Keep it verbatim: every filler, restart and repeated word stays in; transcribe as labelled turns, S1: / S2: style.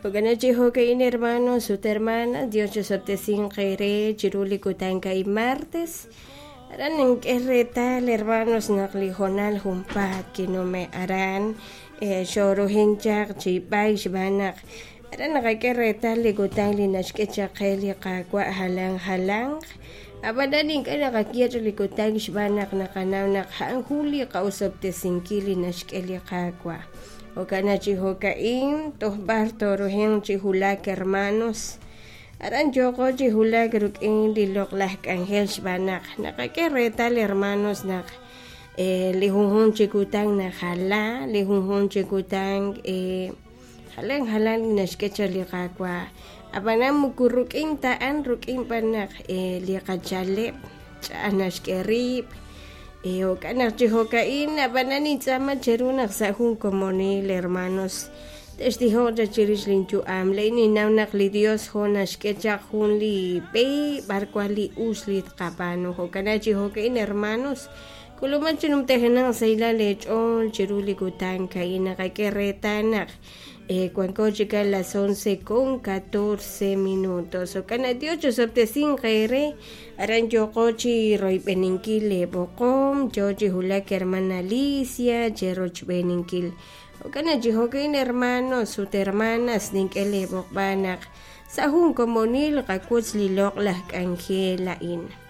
S1: Jo'kan chi jo'ka'in hermanos ut hermanas Dios chisob'tesinq eere chiru li kutan ka'in martes aran nink'e reetal hermanos naq li hoonal junpaat kinume' aran xoruhin chaq chi b'ayk xb'aan naq aran naqak'e reetal li kutan li naxk'e chaq qe li Qaawa' jalan jalanq ab'anan ink'a' naqaye li kutan xb'aan naq naqanaw naq a'an jun li qa'osob'tesinkil li naxk'e li Qaawa' jo'kan chi jo'ka'in toj b'ar toruhin chi wulak hermanos aran yooqo chi wulak rik'in li loq'laj k'anjel xb'aan naq naqak'e reetal hermanos naq li junjunq chi kutan najala li junjunq chi kutan jalan jalan li naxk'e chaq li Qaawa' ab'anan moko rik'in ta a'an rik'in b'an naq li qachaleb' ch'a'aj naxk'e riib' jo'kan naq chi jo'ka'in ab'anan nintz'aama cheru naq sa' jun komonil hermanos textijoq chaq chirix linyu'am ley ninnaw naq li Dios jo naxk'e chaq jun li b'e b'ar wan li us li tqab'aanu jo'kan chi jo'ka'in hermanos k'uluman chi numtajenaq sahilal eech'ool chiru li kutan ka'in naqak'e reetal naq wanko chik a las once con catorce minutos jo'kan naq Dios chisob'tesinq eere aran yooqo chi royb'eninkil leeb'oqom yoo chi wulak hermana Alicia cherochb'eninkil jo'kan naq chi jo'ka'in hermanos ut hermanas nink'e leeb'oqb'al naq sa' jun komonil qawotz li loq'laj k'anjel a'in.